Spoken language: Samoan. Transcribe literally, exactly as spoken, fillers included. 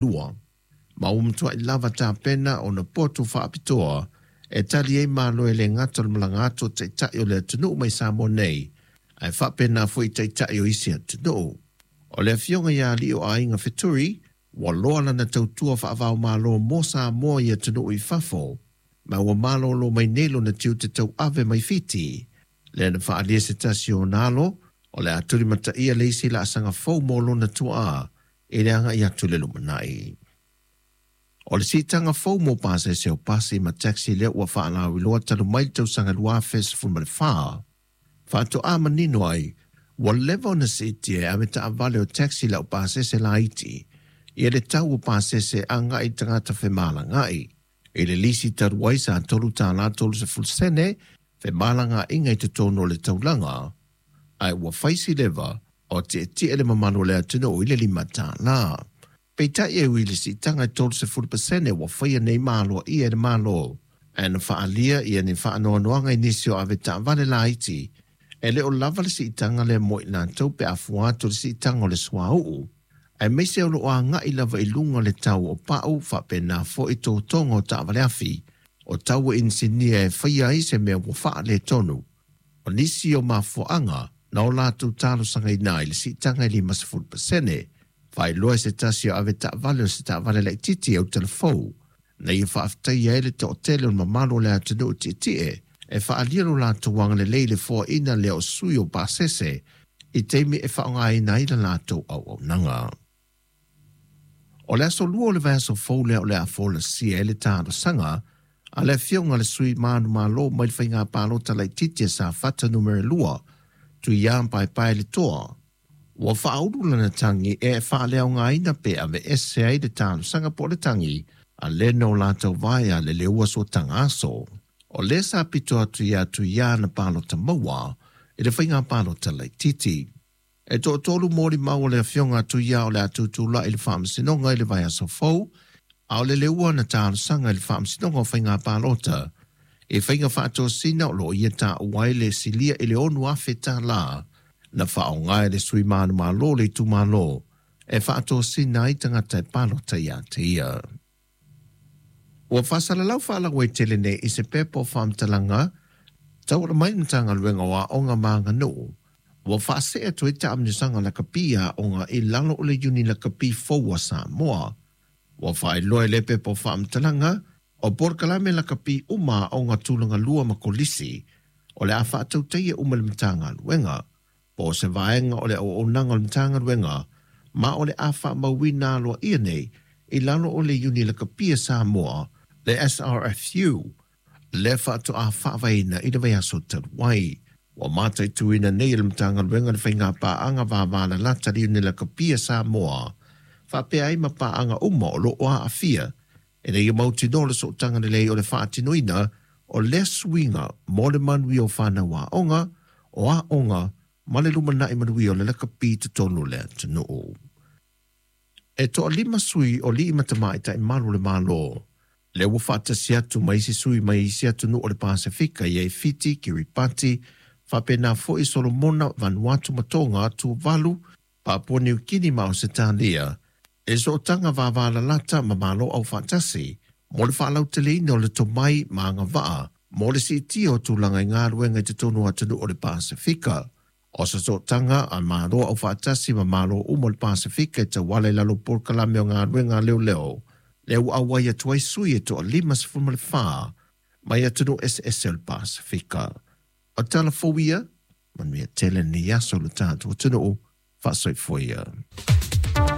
Lua. Ma ua matuai lava tapena ona poto faapitoa e tali ai malo e le gata o le malaga atu o taitai o le atunuu mai Samoa nei, ae faapena foi taitai o isi atunuu. O le afioga ia Alii o Aiga Feturi, ua loa lana tautua faava-o-Malo mo Samoa i atunuu i fafo, ma ua malolo mai nei lona tiute tauave mai Fiti. Lea na faaalia se tasi o ona alo, o le a tulimataia le isi laasaga fou mo lona tuaa i le agai atu i le lumanai. O le siitaga fou mo pasese o pasi ma taxi lea ua faalauiloa talu mai le tausaga lua afe sefulu ma le fa, faatoa manino ai ua leva ona siitia e ave taavale o taxi lau pasese laiti ia le tau o pasese agai i tagata femalagaai. I le lisi talu ai sa tolu tālā tolu sefulu sene femalagaaiga i totonu o le taulaga, ae ua fai si leva o tietie le mamalu o le atunuu i le lima tālā. Peitai e ui i le siitaga e tolu sefulu pasene ua faia nei ma aloaia e le Malo, ae na faaalia ia ni faanoanoaga i nisi o ave taavale laiti, e le o lava le siitaga lea mo i latou pe a fua atu i le siitaga o le suauu, aemaise o lo o agai lava i luga le tau o pau faapena foi totoga o taavale afi, o tau e inisinia e faia ai se mea ua faaletonu. O nisi o mafuaaga na o latou talosagaina ai le siitaga e lima sefulu pasene, faailoa e se tasi o ave taavale o se taavale laitiiti e autalafou, na ia faafetaia ai le toatele o le mamalu o le atunuu tietie e faaalia lo latou agalelei i le foaina lea o sui o pasese i taimi e faaaogaina ai la latou auaunaga. O le aso lua o le vaiaso fou lea o le a folasia ai le talosaga a le afioga a le sui manumalo mai le faiga palota laitiiti a Safata numera lua, Tuiā Paepaeletoa. Ua faaulu lana tagi e faaleaogaina pe aveese ai le talosaga po o le tagi a le na o latou vae a le leua sootaga aso. O lea sa pito atu ia Tuiā na palota maua i le faiga palota laitiiti. E toatolu molimau o le afioga a Tuiā o le a tutulai i le faamasinoga i le vaiaso fou, a o le leua na talosaga i le faamasinoga o faiga palota i faiga faatosina o lo o ia taua ai le silia i le ono afe tālā na faaaoga e le sui manumalo o le itumalo e faatosina ai tagata e palota ia te ia. Ua faasalalau faalauaitele nei i se pepa o faamatalaga tauala mai le Matagaluega o Aoga ma Aganuu, ua faasee atu ai taamilosaga lakapi a aoga i lalo o le Iuni Lakapi fou a Samoa. Ua faailoa i lea pepa o faamatalaga o polokalame lakapi uma a aoga tulaga lua ma kolisi o le a faatautaia uma e le Matagaluega, po o se vaega o le auaunaga o le Matagaluega, ma o le a faamauina aloaia nei i lalo o le Iuni Lakapi a Samoa, le S R F U, lea faatoa faavaeina i le vaiaso talu ai. Ua mataituina nei e le Matagaluega le faiga paaga vavalalata le Iuni Lakapi a Samoa, faapea ai ma paaga uma o lo o aafia, ina ia mautinoa le sootaga lelei o le faatinoina o lea suiga mo le manuia o fanau aoga, o aoga ma le lumanai manuia o le lakapi i totonu o le atunuu. E toalima sui o alii ma tamaitai malu o le Malo, lea ua faatasi atu ma isi sui mai isi atunuu o le Pasefika ia i Fiti, Kiribati, faapena foi Solomona, Vanuatu ma Tonga, Tuvalu, Papua Niu Kini ma Ausetalia, e sootaga vavalalata ma Malo Aufaatasi mo le faalauteleina o le tomai ma agavaa mo le siitia o tulaga i galuega i totonu o atunuu o le Pasefika. O se sootaga a Malo Aufaatasi ma Malo uma o le Pasefika e tauala i lalo o polokalame o galuega a leoleo, lea ua auai atu ai sui e toalima sefulu ma le fa mai atunuu eseese o le Pasefika. O tala fou ia, manuia tele lenei aso i lo tatou atunuu, faasoifua ia.